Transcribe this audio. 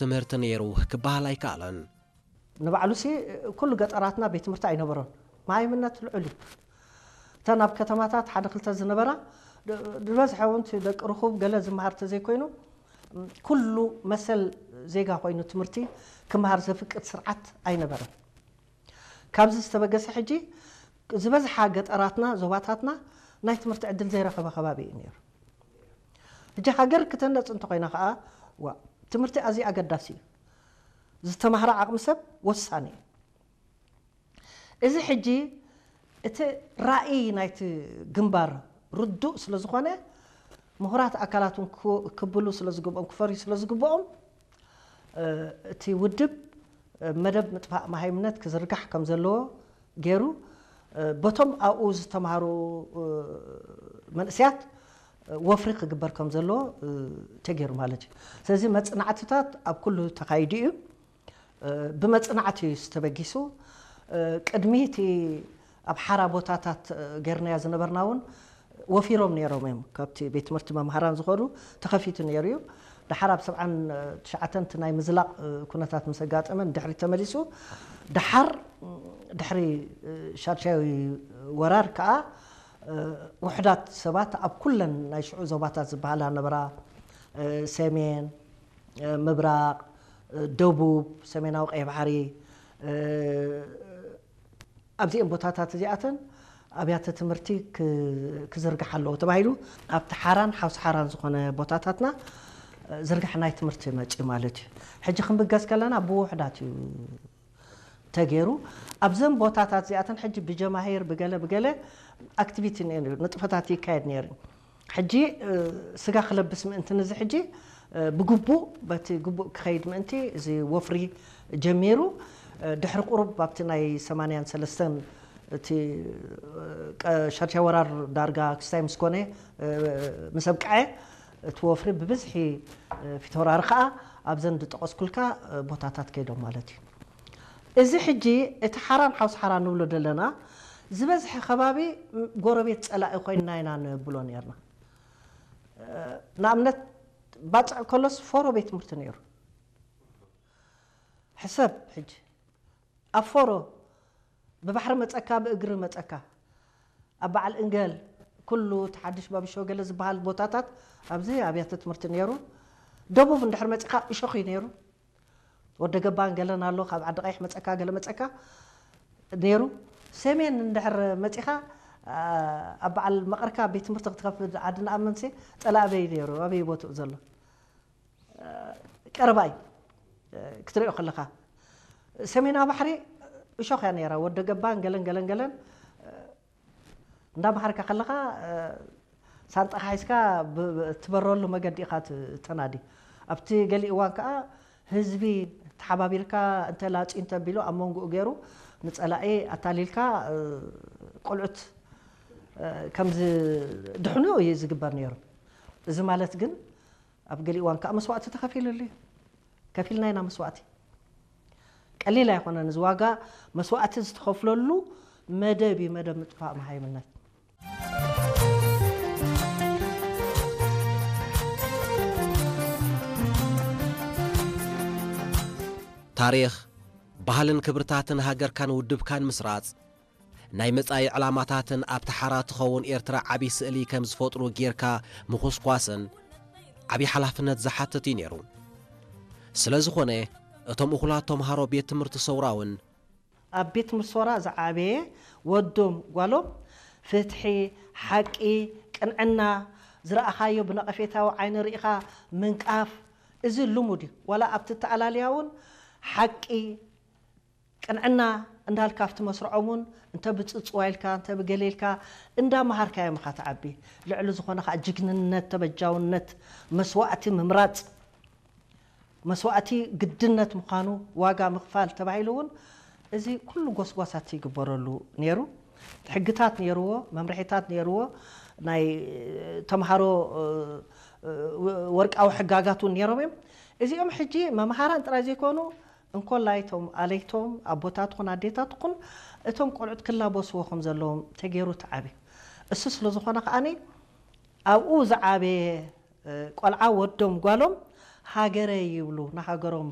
ትምህርቲ ነይሩ ክበሃል ኣይከኣለን። ንባዕሉሲ ኩሉ ገጠራትና ቤት ትምህርቲ ኣይነበሮን። መሃይምነት ልዑል እዩ። እተን ኣብ ከተማታት ሓደ ክልተ ዝነበራ ዝበዝሐ እውን ደቂ ርኹብ ገለ ዝመሃር ተዘይኮይኑ ኩሉ መሰል ዜጋ ኮይኑ ትምህርቲ ክመሃር ዘፍቅድ ስርዓት ኣይነበረን። ካብዚ ዝተበገሰ ሕጂ ዝበዝሓ ገጠራትና ዞባታትና ናይ ትምህርቲ ዕድል ዘይረኸበ ከባቢ እዩ ነይሩ። ሕጂ ሃገር ክተነፅ እንተኮይና ከዓ ዋ ትምህርቲ ኣዝዩ ኣገዳሲ እዩ። ዝተማህረ ዓቕሚ ሰብ ወሳኒ እዩ። እዚ ሕጂ እቲ ራእይ ናይቲ ግንባር ርዱእ ስለ ዝኾነ ምሁራት ኣካላት እውን ክብሉ ስለ ዝግብኦም ክፈርዩ ስለ ዝግብኦም እቲ ውድብ መደብ ምጥፋእ መሃይምነት ክዝርጋሕ ከም ዘለዎ ገይሩ በቶም ኣብኡ ዝተምሃሩ መንእስያት ወፍሪ ክግበር ከም ዘለዎ ተገይሩ ማለት እዩ። ስለዚ መፅናዕትታት ኣብ ኩሉ ተኻይዱ እዩ። ብመፅናዕቲ እዩ ዝተበጊሱ። ቅድሚ እቲ ኣብ ሓራ ቦታታት ገይርናዮ ዝነበርና እውን ወፊሮም ነይሮም እዮም። ካብቲ ቤት ትምህርቲ መምሃራን ዝኸዱ ተኸፊቱ ነይሩ እዩ። ድሓር ኣብ ሰብዓን ትሽዓተን እቲ ናይ ምዝላቕ ኩነታት ምስ ኣጋጠመ ንድሕሪት ተመሊሱ ድሓር ድሕሪ ሻድሻዊ ወራር ከዓ ውሕዳት ሰባት ኣብ ኩለን ናይ ሽዑ ዞባታት ዝበሃላ ነበራ ሰሜን፣ ምብራቕ፣ ደቡብ፣ ሰሜናዊ ቀይ ባሕሪ ኣብዚኤን ቦታታት እዚኣተን ኣብያተ ትምህርቲ ክዝርግሓ ኣለዎ ተባሂሉ ኣብቲ ሓራን ሓውሲ ሓራን ዝኾነ ቦታታትና ዝርግሐ ናይ ትምህርቲ መፂኡ ማለት እዩ። ሕጂ ክንብገስ ከለና ብውሕዳት እዩ ተገይሩ። ኣብዘን ቦታታት እዚኣተን ሕጂ ብጀማሂር ብገለ ብገለ ኣክቲቪቲ ነይሩ፣ ንጥፈታት ይካየድ ነይሩ። ሕጂ ስጋ ክለብስ ምእንቲ ንዚ ሕጂ ብግቡእ በቲ ግቡእ ክኸይድ ምእንቲ እዚ ወፍሪ ጀሚሩ። ድሕሪ ቁሩብ ኣብቲ ናይ ሰማንያን ሰለስተን እቲ ሻድሻይ ወራር ዳርጋ ክስታይ ምስ ኮነ ምስ ኣብቅዐ እቲ ወፍሪ ብብዝሒ ፊት ወራሪ ከዓ ኣብዘን ዝጠቐስኩልካ ቦታታት ከይዶም ማለት እዩ። እዚ ሕጂ እቲ ሓራን ሓውሲ ሓራን ንብሎ ዘለና ዝበዝሐ ከባቢ ጎረቤት ፀላኢ ኮይንና ኢና ንብሎ ነርና። ንኣብነት ባፅዕ ከሎስ ፎሮ ቤት ትምህርቲ ነይሩ። ሕሰብ ሕጂ ኣብ ፎሮ ብባሕሪ መፀካ ብእግሪ መፀካ ኣብ በዓል እንገል ኩሉ ተሓድሽ ባብሾ ገለ ዝበሃል ቦታታት ኣብዚ ኣብያተ ትምህርቲ ነይሩ። ደቡብ እንድሕር መፂኻ እሾኽ እዩ ነይሩ። ወደ ገባን ገለን ኣሎ ካብ ዓዲ ቀይሕ መፀካ ገለ መፀካ ነይሩ። ሰሜን እንድሕር መፂኻ ኣብ በዓል መቐርካ ቤት ትምህርቲ ክትከፍት ዓዲ ንኣመንሲ ፀላእ ኣበይ ነይሩ ኣበይ ቦትኡ ዘሎ ቀረባ እዩ ክትሪኦ ከለኻ ሰሜናዊ ባሕሪ እሾኽ እያ ነይራ ወደ ገባን ገለን ገለን ገለን እንዳመሃርካ ከለኻ ሳንጣኻ ሒዝካ ትበረሉ መገዲ ኢኻ ተናዲ ኣብቲ ገሊ እዋን ከዓ ህዝቢ ተሓባቢርካ እንተ ላፅዩ እንተ ቢሉ ኣብ መንጎኡ ገይሩ ንፀላኢ ኣታሊልካ ቆልዑት ከም ዝድሕኑ እዩ ዝግበር ነይሩ። እዚ ማለት ግን ኣብ ገሊ እዋን ከዓ መስዋእቲ ተኸፊሉሉ እዩ። ከፊልና ኢና መስዋእቲ። ቀሊል ኣይኮነን እዚ ዋጋ መስዋእቲ ዝተኸፍለሉ መደብ እዩ መደብ ምጥፋእ መሃይምነት። ታሪኽ ባህልን ክብርታትን ሃገርካን ውድብካን ምስራጽ ናይ መጻኢ ዕላማታትን ኣብቲ ሓራ ትኸውን ኤርትራ ዓቢ ስእሊ ከም ዝፈጥሩ ጌርካ ምኹስኳስን ዓቢ ሓላፍነት ዝሓትት እዩ ነይሩ። ስለ ዝኾነ እቶም እኹላት ተምሃሮ ቤት ትምህርቲ ሰውራ እውን ኣብ ቤት ትምህርቲ ሰውራ ዝዓበየ ወዶም ጓሎም ፍትሒ፣ ሓቂ፣ ቅንዕና ዝረኣኻዮ ብነቐፌታዊ ዓይኒ ርኢኻ ምንቃፍ እዚ ልሙድ እዩ። ዋላ ኣብቲ ተኣላልያ እውን ሓቂ ቅንዕና እንዳልካ ኣብቲ መስርዖም እውን እንተ ብፅፅዋ ኢልካ እንተ ብገለ ኢልካ እንዳመሃርካዮም ኢኻ ትዓቢ። ልዕሊ ዝኾነ ከዓ ጅግንነት፣ ተበጃውነት፣ መስዋእቲ ምምራፅ መስዋእቲ ግድነት ምዃኑ ዋጋ ምኽፋል ተባሂሉ እውን እዚ ኩሉ ጎስጓሳት ይግበረሉ ነይሩ። ሕግታት ነይርዎ፣ መምርሒታት ነይርዎ፣ ናይ ተምሃሮ ወርቃዊ ሕጋጋት እውን ነይሮም እዮም። እዚኦም ሕጂ መምሃራን ጥራይ ዘይኮኑ እንኮላይ እቶም ኣለይቶም ኣቦታትኹን ኣዴታትኹን እቶም ቆልዑት ክላበስዎ ከም ዘለዎም ተገይሩ ተዓብዩ። እሱ ስለ ዝኾነ ከዓኒ ኣብኡ ዝዓበየ ቆልዓ ወዶም ጓሎም ሃገረይ ይብሉ ንሃገሮም